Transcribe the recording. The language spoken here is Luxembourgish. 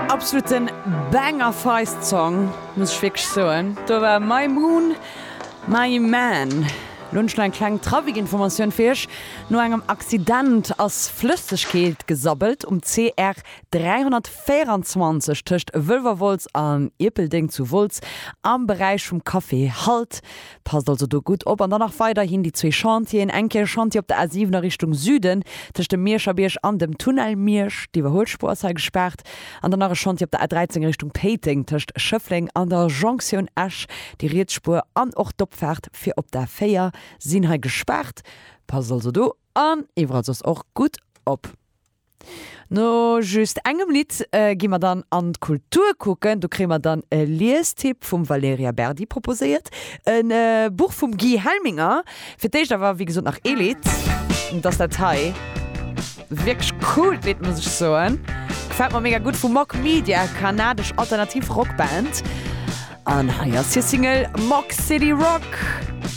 Absoluten Banger Feist Song, muss ech wierklech soen. Do war My Moon, My Man. Lo hunn ech nach eng kleng Trafikinformatioun fir iech. No engem Accident ass Flëssegkeet gesabbelt um CR 324 tëscht Wëlwerwolz an Ierpeldeng zu Wolz am Beräich vum Café Halt. Passt also do gutt op. An dann nach weiderhin déi zwee Chantieren, eng Kéier e Chantier op der A7 a Richtung Süden tëscht dem Mierscher Bierg an dem Tunnel Miersch, d'Iwwerhuelspuer ass hei gespaart. An dann nach e Chantier op der A13 Richtung Péiteng tëscht Schëffleng an der Jonktioun Esch, déi riets Spuer an och d'Opfaart fir op d'A4 sinn hei gespaart. Passt also do an iwwerall soss och gutt op. No just engem Lidd gi mer dann an d'Kultur kucken. Do kréie mer dann e Liestipp vum Valerija Berdi proposéiert, e Buch vum Guy Helminger. Fir d'éischt awer, wéi gesot, nach ee Lidd. Dat ass dat hei. Wierklech coolt Lidd, muss ech soen. Gefält mer mega gutt. Vu Mock Media, kanadesch alternativ Rockband. An hei ass hir Single Mock City Rock.